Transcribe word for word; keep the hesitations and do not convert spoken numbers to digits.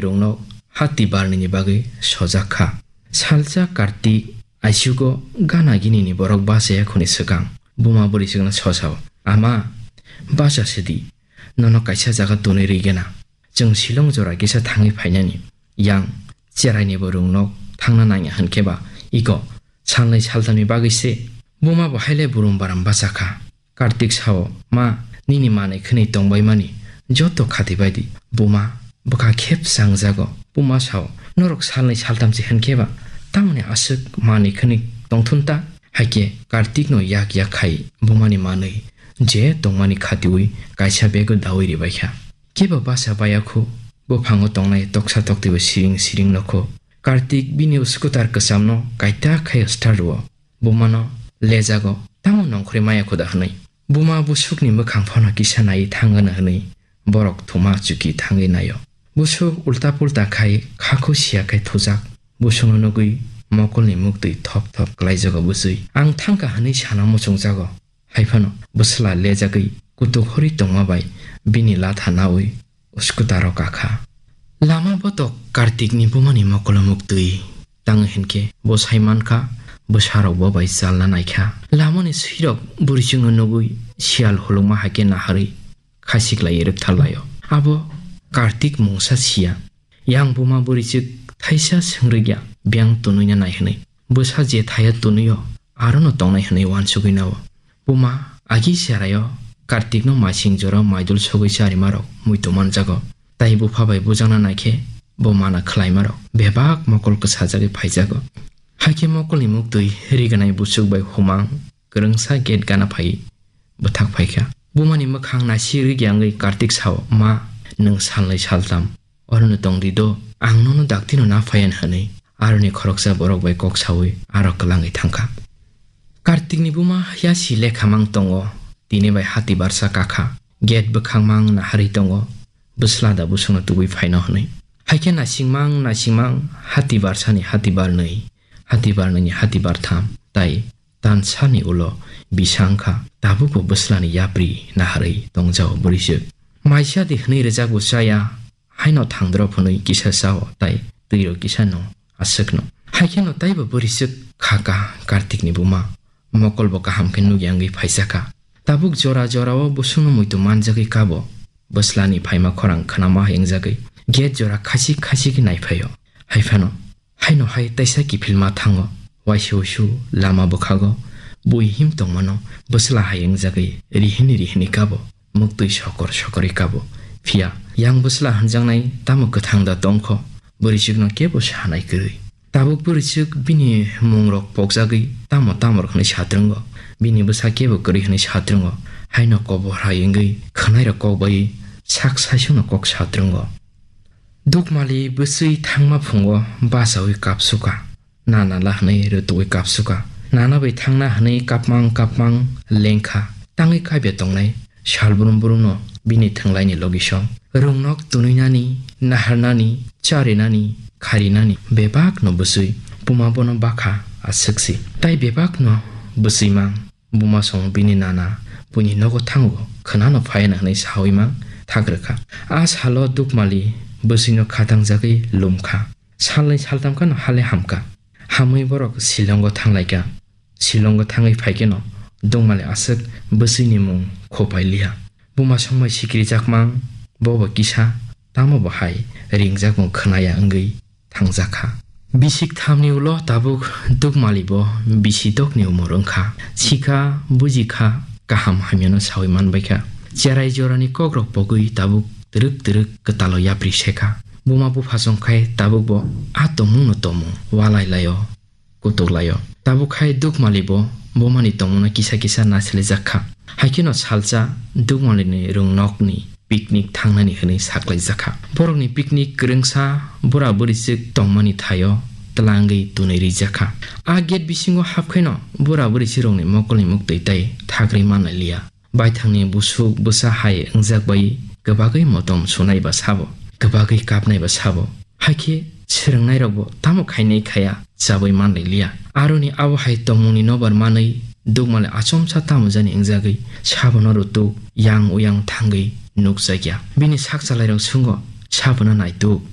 rwngnok hati barnini bagwi sojak kha. Salsa Kartik aisugo gana ginini borok bachaya khuni swkang buma bwrwichwkno sosao, "Ama, bacha sidi, nono kaisa jaga tonwi rwigena. Chwng Shillong jora kisa thangwi phainani. Yang cherainibo rwngnok thangna nangya hwnkhe ba iko salnwi saltamni bagwi se." Buma bo haile burum baram bachakha. Kartik sao, "Ma, nini manwi khwnwi tongbaimani joto khati baidi. Buma, bwkha khep changjago." Buma sao, "Norok salnwi saltamchi hwnkhe ba tamoni aswk manwi khwnwi tongthun ta?" Haikhe Kartikno yak yak khai bumani manwi je tongmani khatiui kaisa bego daui ribaikha. Kebo basa baya khu, buphango tongnai toksa toktibo siring siring nokho. Kartik bini scooter kwchamno kaitak khai start rwo. Bumano lejago, "Tamo nongkhorwi maya khuda?" hwnwi. Buma busukni mwkhang phano kisa naiwi thangano hwnwi borok thuma chuki thangwi naio. Busuk ulta pulta khai khakhu siya khai thujak. Busukno nugwi mokolni muktwi thop thop klaijago bwswi. "Ang thangkha," hwnwi sana muchungjago. Haiphano bwsla lejagwi kutuk horwi tongma bai bini latha naui scooter-o kakha. Lama botok Kartikni bumani mokolo muktwi tangwi hinkhe bo sai mankha, bwsarok bo bai chalna naikha. Lamani swirok bwrwichwngno nugwi siyal hulukma haikhe naharwi khasiklaiwi rwktharlaio. Abo Kartik mungsa siya. Yang buma bwrwichwk thaisa swngrwkya biyang tunwina nai hwnwi. Bwsa je thaya tunwio arono tongnai hwnwi uansugwi nao. Buma agi cheraio Kartikno maising jora maidul sogwi charimarok muitu manjago. Tai bupha bai bujakna naikhe bo mana khlaimarok bebak mokol kwsajagwi phaijago. Haikhe mokolni muktwi riganai busuk bai humang kwrwngsa gate gana phai bwthak phaikha. Bumani mwkhang nasi rwgya wngwi Kartik sao, "Ma, nwng salnwi saltam orono tongdi do, ang nono daktino na phaiyan," hwnwi aroni khoroksa borok bai kok saui aro kwlangwi thangkha. Kartikni buma yasi lekha mang tongo, tini bai hati barsa kakha, gate bwkhang mang naharwi tongo, bwsla da busungno tubui phaino hwnwi. Haikhe nasingmang nasingmang hati barsani hati barnwi, hati barnwini hati bartham, tai tansani ulo bisa wngkha, tabukbo bwslani yapri naharwi tongjao bwrwichwk. Maisa di hwnwi rwjak bo chaya, haino thangdrop hwnwi kisa chao tai twirok kisa no aswkno. Haikheno taibo bwrwichwk khaka Kartikni buma. Mokolbo kaham khe nukya wngwi phaijakha. Tabuk jora jorao busungno muitu manjagwi kabo. Bwslani phaima khorang khnama hai wngjagwi gate jora khachik khachik khe naiphaio. Haiphano haino hai taisa kiphilma thango. Waisa usu lama bwkhago bui him tongmano bwsla hai wngjagwi rihini rihini kabo. Muktwi sokor sokorwi kabo. Phiya yang bwsla hwnjaknai tamo kwthang da tongkho, bwrwichwkno kebo sanai kwrwi. Tabuk bwrwichwk bini mungrok pokjagwi tamo tamo rok hwnwi satrwngo, bini bwsa kebo kwrwi hwnwi satrwngo, haino kobor hai wngwi khwnairok kok bai sak saichungno kok satrwngo. Dukmali bwswi thangma phungo bachaui kapsuka. Nana la hwnwi rwtugwi kapsuka. Nana bai thangna hwnwi kapmang kapmang lengkha. Tangwi kaibya tongnai sal brum brumno bini thwnglaini logisong. Rwngnok tunwinani, naharnani, charinani, kharinani bebakno bwswi buma bono bakha aswksi. Tai bebakno bwswimang. Buma song bini nana buini nogo thango, khwnano phaiana hwnwi saui mang thak rwkha. A salo Dukmali bwswino khatangjagwi lumkha. Salnwi saltam khano hale hamkha. Hamwi borok Shillongo thanglaikha. Shillongo thangwi phaikheno Dukmali aswk bwswini mung khopai liya. Buma songbai sikirijakmang, bobo kisa, tamo bo hai ringjakmung khwnaya wngwi thangjakha. Bisik thamni ulo tabuk Dukmali bo bisi dokni umor wngkha. Sikha, bujikha, kaham hamyano saui manbaikha. Cherai jorani kokrok pogwi tabuk twrwk twrwk kwtalo yapri sekha. Buma buphasong khai tabuk bo a tongmungno tongmung walai laio, kutuk laio. Tabuk khai Dukmali bo bumani tongmungno kisa kisa naisilijakha. Haikheno salsa Dukmalini rwngnokni picnic thangnani hwnwi saklaijakha. Borokni picnic kwrwngsa bura bwrwichwk tongmani thaio twlangwi tunwi rijakha. A gate bisingo hapkhaino bura bwrwichwkrokni mokolni muktwi tai thagri manlai liya. Baithangni busuk bwsa hai wngjak bai kwbagwi motom sunai ba sabo, kwbagwi kapnai ba sabo. Haikhe swrwngnairokbo tamo khainai khaya chabwi manlai liya. Aroni abo hai tongmungni nobar manwi Dukmali achomsa tamo jani wngjagwi sabono rwtuk yang uyang thangwi nukjakya. Bini sak chalairok swngo, sabono naituk.